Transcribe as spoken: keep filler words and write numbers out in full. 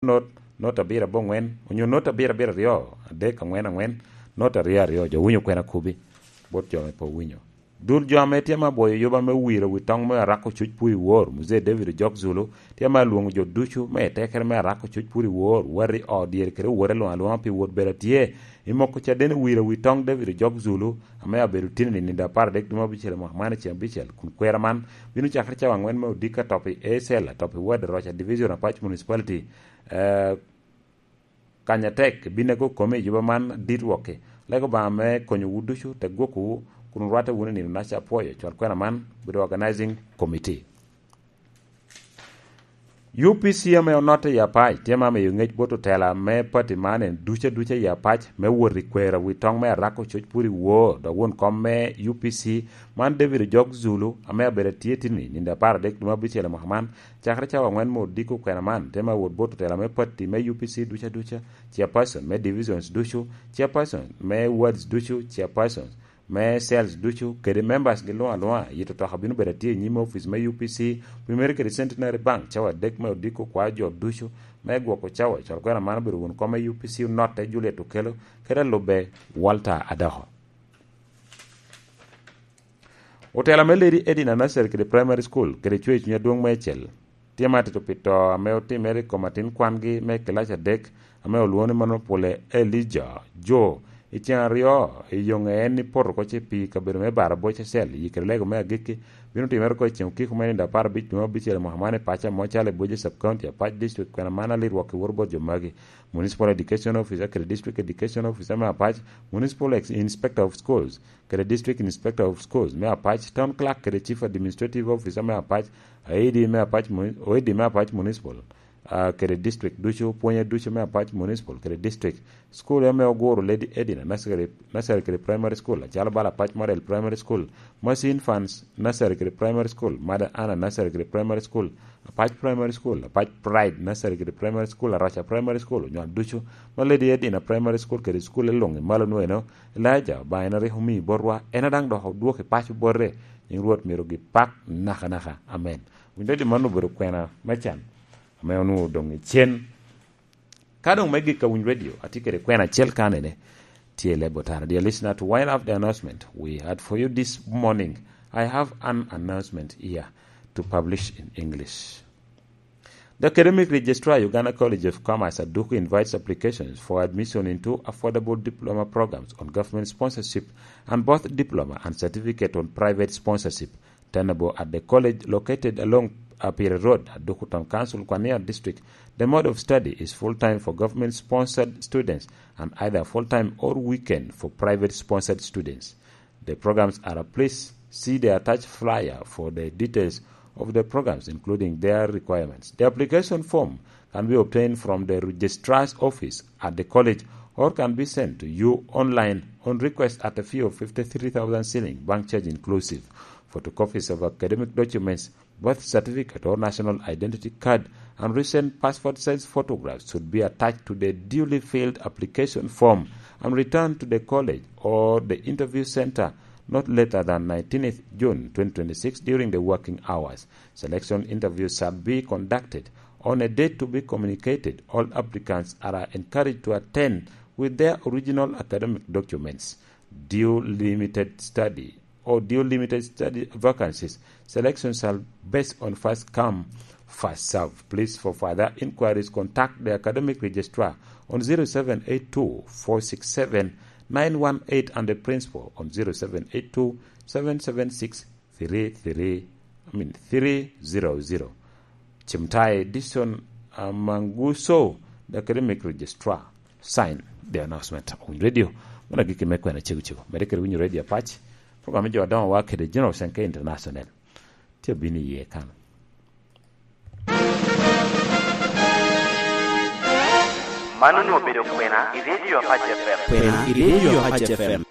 not, not abiro aboŋwen, onyo not abiro abiro aryo, adek, aŋwen aŋwen, not aryo aryo, jo winyo kwena kubi, bot jo ame pe owinyo. Dul jo ame tye ame abwoyo yuba me wiro wi toŋ me Arako Cuc Pur i Wor, Muzee David Ojok Zulu, tye ame alwoŋo jo ducu me etekere me Arako Cuc Pur i Wor, wati ot dyere kede owote luŋ aluŋa pi wot bedo atye i moko caden i wiro wi toŋ David Ojok Zulu, ame abedo tini i nino apar adek dwe me abicel i mwaka man i ceng abicel, kun kwera man bino cakere cawa aŋwen me odiko atop i A C L, atop i ward Roca Division, Apac Municipality. Eh, Kanya tek, binego kome i yuba man dit wokki. Lego Obaŋa me konyowu ducu, te gwokkowu, kun orwatte wunu i nino naca apwoyo. Cwal kwena man, bedo organizing committee. U P C ame onotte i Apac tye ma miyo ŋec bot otela me pati man en duca duca i Apac me wot i kwero wi toŋ me Arako Cuc Pur i Wor, dok won kom me U P C man David Ojok Zulu, ame abedo atye tini nino apar adek dwe me abicel i mwaka man, cakere cawa aŋwen me odiko kwena man, te ma wot bot otela me pati me U P C duca duca, chairperson me divisions ducu, chairperson me wards ducu, chairpersons me cells ducu, kede members gi luŋ aluŋa. Yito toka bino bedo atye i nyim office me U P C, Primary kede Centenary Bank, cawa adek me odiko kwa jo ducu, me gwoko cawa. Cwal kwena man obedo won kom me U P C onotte Juliet Okello, kede alubbe Walter Adoko. Otela me Lady Edina Nursery kede Primary School kede Cwer Cuny Adwoŋ me Acel tye ma atito pi to ame otimere i kom atin kwangi me kilac adek ame olwoŋo ni mano pole Elijah Joe. I ceŋ aryo i yoŋe en ni poto oko ce pi kabedo me Baraboc Acel, i kede lego me agikki bino timere oko i ceŋ okiko me nino apar abic dwe me abicel i mwaka man i paco amo calo i Bwece Sub County, Apac District, kwena man alit wok i woro bot jo magi: Municipal Education Officer kede District Education Officer me Apac, Municipal Ex-, Inspector of Schools, kede District Inspector of Schools me Apac, Town Clerk kede Chief Administrative Officer me Apac, aidi me Apac Muni-, oidi me Apac Municipal, ah, kede district ducu, pwonye ducu me Apac Municipal kede district, school ame oguro Lady Edina Nursery, Nursery kede Primary School, acalo bala Apac Model Primary School, Mercy Infants Nursery kede Primary School, Mother Anna Nursery kede Primary School, Apac Primary School, Apac Pride Nursery kede Primary School, Araca Primary School, onywal ducu ma Lady Edina Primary School kede school luŋ i malo nweno, Elijah Obaŋa en a rik omii botwa, en a daŋ dok odwoko i paco bote. Nyiŋ Rwot myero gipak nakanaka. Amen. Winy dadi man obedo kwena me can ame onwoŋo doŋ i cen. Ka doŋ me gik ka Winy Radio, atye kede kwena acel kanene, tye i leb otara. Dear listener, to wind up the announcement we had for you this morning, I have an announcement here to publish in English. The Academic Registrar, Uganda College of Commerce, Aduku, invites applications for admission into affordable diploma programs on government sponsorship and both diploma and certificate on private sponsorship, tenable at the college located along Apire Road, Aduku Town Council, Kwania District. The mode of study is full-time for government-sponsored students and either full-time or weekend for private-sponsored students. The programs are, please see the attached flyer for the details of the programs, including their requirements. The application form can be obtained from the registrar's office at the college or can be sent to you online on request at a fee of fifty-three thousand shilling, bank charge inclusive. Photocopies of academic documents, birth certificate or national identity card, and recent passport size photographs should be attached to the duly filled application form and returned to the college or the interview center not later than nineteenth June twenty twenty-six during the working hours. Selection interviews shall be conducted on a date to be communicated. All applicants are encouraged to attend with their original academic documents. Due limited study or due limited study vacancies. Selection shall based on first come, first serve. Please, for further inquiries, contact the academic registrar on zero seven eight two, four six seven, nine one eight and the principal on zero seven eight two, seven seven six, three three, I mean, three zero zero. Chimtai Dixon Amanguso, the academic registrar, sign the announcement on radio. Mano agikki me kwena cego cego. Mede kede winyo Radio Apac, program me jo adoŋo wa kede General Senke International. Tye abino iye kan. Mano onwoŋo obedo kwena i Radio Apac F M. Kwena i Radio Apac F M.